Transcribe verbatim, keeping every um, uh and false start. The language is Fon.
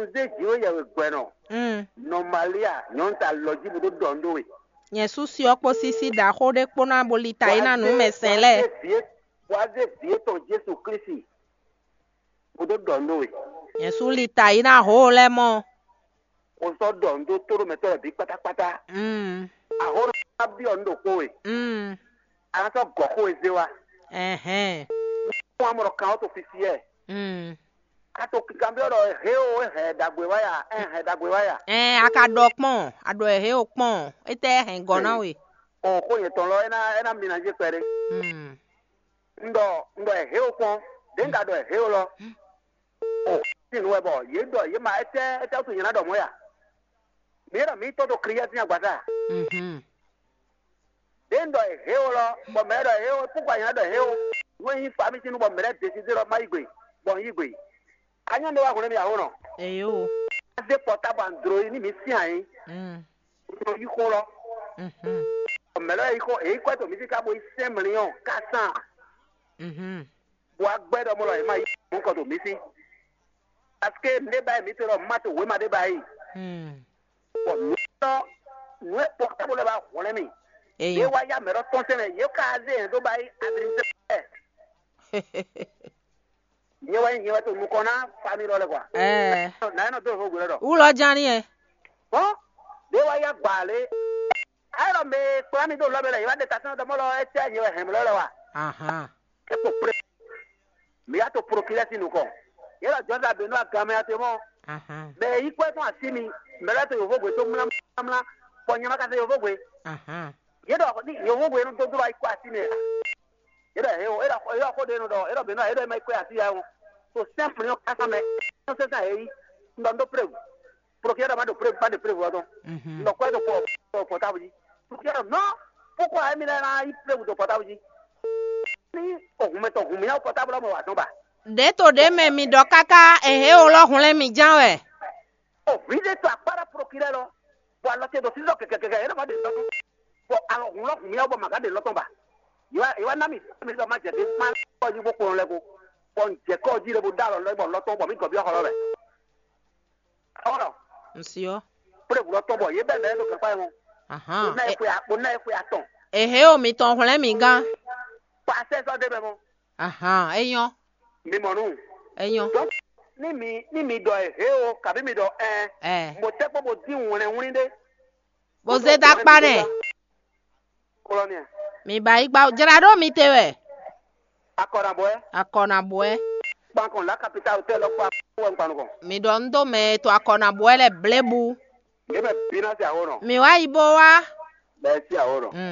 Un zé jǐnwé yɛwěgbɛ́nɔ, Mm. Nɔ Malia, nyɔ̌nu ta lɔ jí bó dó ɖɔ nú we. Nyɛ sú syɔ kpó sísí ɖaxó ɖé kpó ná bo li ta yi ná nǔ mɛ sɛn lɛ́ɛ. Wá zé vǐ étɔn Jesu Klísu bó dó ɖɔ nú we. Nyɛ sú li ta yi ná hǒ lɛ́ɛ mɔ. Xo sɔ́ ɖɔ nǔ dó tóɖomɛtɔ́ lɛ́ɛ bǐ kpátákpátá. Mm. Axɔ́ ná byɔ́ nǔ ɖokpó we. Mm. A ná sɔ́ gɔ̌ xó e zé wá. Ɛhɛn. Fún amɔ ɖɔ kan ɔ́ to fifiyɛ. Mm. A to kanbyɔ́ ɖɔ hě o, é hɛn ɖagbe wá ya, é hɛn ɖagbe wá ya. Ɛn a ka ɖɔ kpɔ́n, a ɖɔ ɛ hě o kpɔ́n, étɛ́ hɛn gɔ́ ná we. O xó nyɛtɔn lɔ, é ná é ná mi ná jɛ kpɛɖé. Mm. Un ɖɔ un ɖɔ ɛ hě o kpɔ́n, ɖě un ka ɖɔ ɛ hě o lɔ. O sin nǔ wɛ bɔ yě ɖɔ yě ma étɛ́ étɛ́ wútu nyɛ ná ɖɔ mɔ̌ ya? Mǐ ɖɔ mǐ tɔ́ dó Kliyɛ́ sín agbaza. Mhm. Ɖě un ɖɔ ɛ hě o lɔ, bɔ mɛ ɖɔ ɛ hě o, púkwa nyɛ ná ɖɔ ɛ hě o. Nú é nyí fa mì sín nú bɔ mɛ lɛ́ɛ desidé ɖɔ má yí gbe, bɔ un yí gbe. A nyɔ́ ɖé wá hwlɛ́n mì aho nɔ. Eyo. Zé pɔtábu androyi ní mǐ sín ayǐ. Mm. Nɔ yí xó lɔ. Mhm. Mɛ lɛ́ɛ yí xó èyí kɔ to mǐ sí ká bo yí sɛ́n mlǐɔn ká sán. Mhm. Bɔ agbɛ́ ɖɔ mɔ lɔ yě má yí mɔ̌ kɔ to mǐ sí. Parce que nǔ ɖé ba yí mǐ se ɖɔ má to wěma ɖé ba yí. Mm. Bɔ mǐ tɔ́ nǔ e pɔtábu lɛ́ɛ ba hwlɛ́n mì. Yě Eyo. Wá yá mɛ ɖɔ tɔn sɛnɛ yě ka zé yɛn dó ba yí adrisɛ. Nyɛ wɛ nyɛ wɛ to nukɔn ná famille lɔ lɛ kɔ. Ɛɛ. Na yɛ nɔ do ho gbe lɔ dɔ. Wulɔ jani ɛ. Bɔn ɖe wa ya gba le. Ayɔ mɛ kpla mi do lɔ bɛ lɛ, yɛ wa de ta sɛn dɔmɔ lɔ, ɛtɛ nyɛ wɛ hɛn lɔ lɛ wa. Ahan. E ko pre. Mi ya to prokilɛ si nukɔn. Yɛ lɔ jɔn da be nɔ agan mɛ ate mɔ. Ahan. Bɛ yi kɔ tɔn asi mi. Mɛ lɛ to yovo gbe to mla mla. Bɔ nyɛ ma ka se yovo gbe. Ahan. Yɛ dɔ ni yovo gbe no do do ayi kɔ asi mi. Yɛ dɔ he o, yɛ dɔ yɛ dɔ ko de no dɔ, yɛ dɔ be no, yɛ dɔ ma yi kɔ asi ya o. To simple yo kasa mɛ. No se sa he yi. Ndo ndo preuve. Procureur ma do preuve, pas de preuve wa don. Mhm. Ndo ko do po po portable ji. Procureur non. Pourquoi emi na yi preuve do portable ji? Ni o hun mɛ tɔn hun mi na portable mo wa zɔn ba. Ɖě to ɖě mɛ mi ɖɔ káká ehe o lɔ hwlɛ́n mi ján wɛ. O vǐ ɖé to akpá ɖo prokirɛ lɔ, bɔ alɔ ce ɖo sísɔ kɛkɛkɛkɛ, é nɔ va ɖe lɔtɔn, bɔ alɔ hun lɔ hun mì bɔ màgá ɖe lɔtɔn ba. Yewa yewa ná mi mi ɖɔ ma jɛ ɖe ma kɔ yí bó kplɔn lɛ ko, bɔ un jɛ kɔ jí ɖe bó dó alɔ lɔ bɔ lɔtɔn bɔ mí gɔ byɔ́ xɔ lɔ mɛ. Ɔlɔ, Ŋsiɔ. Kple wǔ lɔtɔn bɔ yě bɛ mɛ ɖo kɛkpa mɔ. Ahan. Bó ná e xwe bó ná e xwe atɔn. Ehe o mitɔn hwlɛ́n mi gán. Kpa sɛ sɔ ɖe mɛ mɔ. Ahan, é nyɔ́. Mi mɔ nú. É nyɔ́. Donc, ní mi ní mi ɖɔ ɛ hé o, kabí mi ɖɔ ɛn. Ɛ. Mo tɛ kpɔ bo dín wɛnɛ wlí ɖé. Bó zé dó akpá nɛ. Kɔlɔnia. Mi ba yi gba jra ɖó mi te wɛ. Akɔ na bɔɛ. Akɔ na bɔɛ. Kpankɔn la kapita hotɛl lɔ kpa wɛ nkpanukɔn. Mi ɖɔ un dó mɛ to akɔ na bɔɛ lɛ blebu. Yé bɛ bi na se awo nɔ. Mi wá yi bó wá. Bɛ si awo nɔ. Mm.